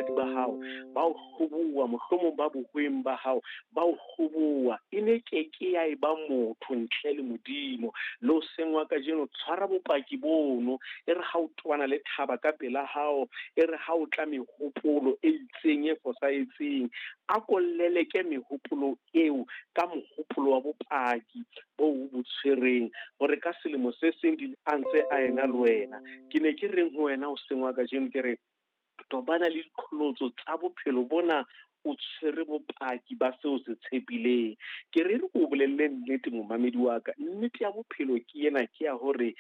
Batshehadi ba hao ba o hloboha, mohlomong ba bohweng ba hao ba o hloboha. E ne ke ke ya eba motho ntle le Modimo. Le hoseng wa kajeno tshwara bopaki bono, e re ha o tobana le thaba ka pela hao, e re ha o tla mehopolo e itseng e fosahetseng, a ko leleke mehopolo eo ka mohopolo wa bopaki bo o bo tshwereng, hore ka selemo se seng di a ntse a ena le wena. Ke ne ke reng ho wena hoseng wa kajeno, ke re tobana le diqholotso tsa bophelo bona, o tshwere bopaki ba seo se tshepileng. Ke re re ko bolelle nnete momamedi wa ka, nnete ya bophelo ke ena, ke ya hore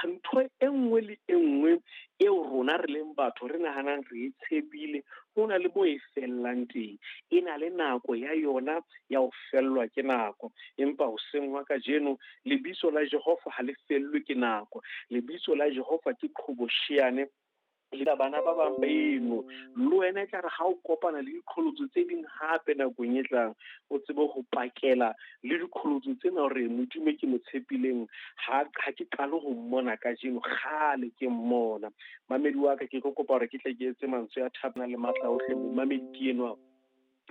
ntho e nngwe le e nngwe eo rona re leng batho re nahanang re e tshepile, ho na le moo e fellang teng. E na le nako ya yona ya ho fellwa ke nako. Empa hoseng wa kajeno lebitso la Jehova ha le fellwe ke nako. Lebitso la Jehova ke qhobosheane le bana ba bang beno. Le wena e tla re ha o kopana le diqholotso tse ding hape nakong e tlang, o tsebe ho pakela le diqholotso tsena hore Modimo e ke mo tshepileng ha ke qale ho mmona kajeno, kgale ke mmona. Mamedi wa ka, ke tlo kopa hore ke tle ke etse mantswe a thapana le matla ohle. Momamedi ke enwa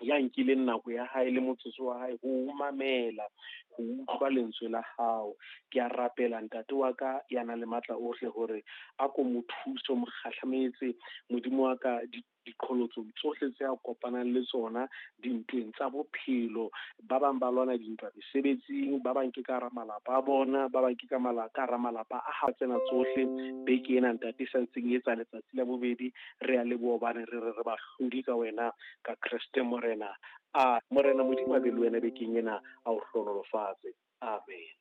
ya nkileng nako ya hae le motsotso wa hae ho mamela, ho utlwa lentswe la hao. Ke a rapela ntate wa ka ya nang le matla ohle hore a ko mo thuse, mo kgahlametse Modimo wa ka diqholotsong tsohle tse a kopanang le tsona dintweng tsa bophelo. Ba bang ba lwana dintwa mesebetsing, ba bang ke ka hara malapa a bona, ba bang ke ka ka hara malapa a hao. Tsena tsohle beke ena ntate e sa ntseng e etsa letsatsi la bobedi, re a leboha hobane re re re bahlodi ka wena ka Kreste Morena. A Morena Modimo a be le wena bekeng ena, a o hlohonolofatse. Amen.